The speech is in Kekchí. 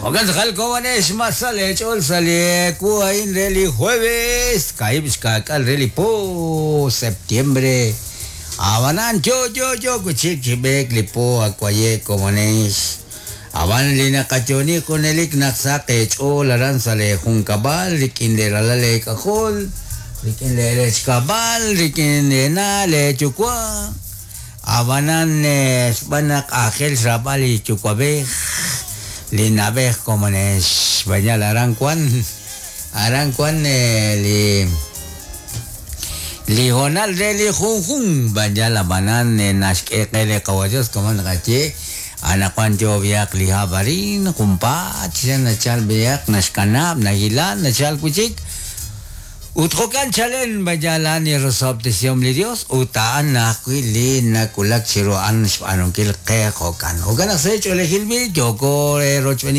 Jo'kan tz'aqal komonex, ma sa leech'ool sa' li ewu a'in re li jueves, 2 xkaak'aal re li po septiembre. Ab'anan yo yo yo wi' chik chi b'eek li po akwaye komonex. Ab'an li naqayooni junelik naq saq eech'ool aran sa' leejunkab'al rik'in leeralal leek'ajol, rik'in leerechkab'al, rik'in leena' leeyuwa'. Ab'anan xb'aan naq aajel xraab'al li yuwa'b'ej, li na'b'ej komonex. Xb'aan aran wan li hoonal re li junjun b'anyal ab'anan naxk'e qe li Qawa' Dios como naqaye anaqwan yo b'ihaq li hab' arin junpaat xa nachal b'ihaq naxkanab' nahilan nachal wi' chik ut jo'kan chalen b'anyal a'an li rosob'tesihom li Dios ut a'an ajwi' li nawulak chiru a'an xb'aanunkil qe jo'kan. Jo'kan naq sa' ch'oolejil b'i' yooko rochb'eeninkil.